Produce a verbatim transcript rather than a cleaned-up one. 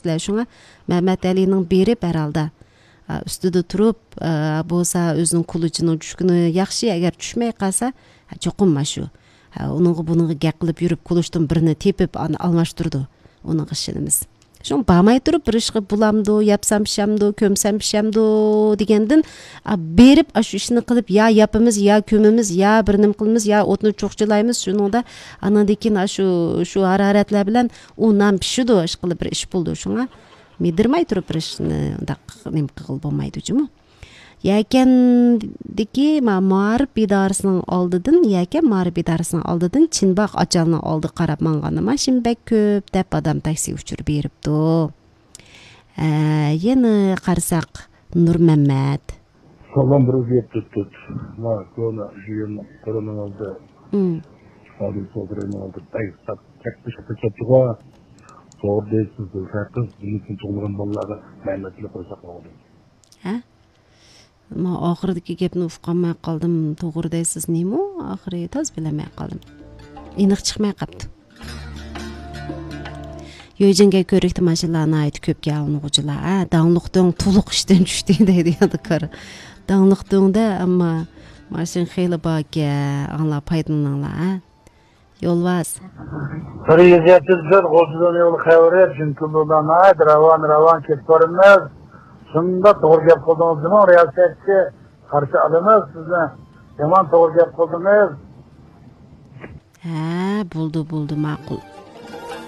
كەتتىلەر. شۇڭا مەمەتئەلىنىڭ بېرىپ ھەر ھالدا، ئا، ئۈستىدە تۇرۇپ، ئا، بولسا ئۆزىنىڭ كۇلىچىنىڭ چۈشكىنى ياخشى، ئەگەر چۈشمەي قالسا، ھە، چوقۇم مانا شۇ. ھە، ئۇنىڭغا بۇنىڭغا گەپ قىلىپ يۈرۈپ، كۇلۇچتىن بىرنى تېپىپ، ئانا ئالماشتۇرىدۇ. ئۇنىڭغا ئىشىنىمىز. شۇڭا بارماي تۇرۇپ، بىر ئىشقا بولامدۇ، ياپسام پىشامدۇ، كۆمسەم پىشامدۇ دېگەندىن، ئا، بېرىپ، ئاشۇ ئىشنى قىلىپ، يا ياپىمىز، يا كۆمىمىز، يا بىر نېمە قىلىمىز، يا ئوتنى چوقچىلايمىز. شۇنىڭدا ئاندىن كېيىن ئاشۇ، شۇ ھارارەتلەر بىلەن ئۇ نان پىشىدۇ، ئىشقىلىپ بىر ئىش بولىدۇ. شۇڭا مىدىرماي تۇرۇپ بىر ئىشنى ئۇنداق نېمە قىلغىلى بولمايدۇ جۇمۇ. يەكەندىكى ما-، مائارىپ ئىدارىسىنىڭ ئالدىدىن، يەكەن مائارىپ ئىدارىسىنىڭ ئالدىدىن چىنباغ ئاچالنىڭ ئالدىغا قاراپ ماڭغاندا ماشىنا بەك كۆپ دەپ ئادەم تاكسى ئۇچۇرى بېرىپتۇ. ئە، يەنە قارىساق، نۇرمەممەت. سالام، بىر ئۆزگەرتىپ تۇت. ما، كونا، جىگىم، قولىنىڭ ئالدى. ئادىل سودىرىنىڭ ئالدى. بەك ساپ، چەكلىشىپ كەتتىغۇ. توغرا دەيسىز، دىلشاتقىز. بۇنىڭ ئۈچۈن تۇغۇلغان بالىلارغا مەمەتلىك قويساق بولىدۇ. ھە؟ مەن ئاخىرىدىكى گەپنى ئۇقالماي قالدىم. توغرا دەيسىز نېمە ئۇ؟ ئاخىرى تازا بىلەلمەي قالدىم. ئېنىق چىقماي قاپتۇ. يۆجىنگە كۆرۈكتە ماشىنىلار ناھايىتى كۆپكەن ئاڭلىغۇچىلار. ھە، داڭلىق دۆڭ تولۇق ئىشتىن چۈشتى دەيدۇ يادىكار. داڭلىق دۆڭدە ئەمما ماشىنا خېلى باركەن. ئاڭلار پايدىلىنىڭلار، ھە. يولۋاس. بىر يۈز يەتتە يۈز بىر غۇلجىدىن يول خەۋىرى، چۈنكى بۇلار ناھايىتى راۋان، راۋان كېتىپ بارىمىز. شۇنداق توغرا گەپ قىلدىڭىز، جۇمۇ رىياسەتچى، قارشى ئالىمىز سىزنى. يامان توغرا گەپ قىلدىڭىز. ھە، بولدى، بولدى، ماقۇل.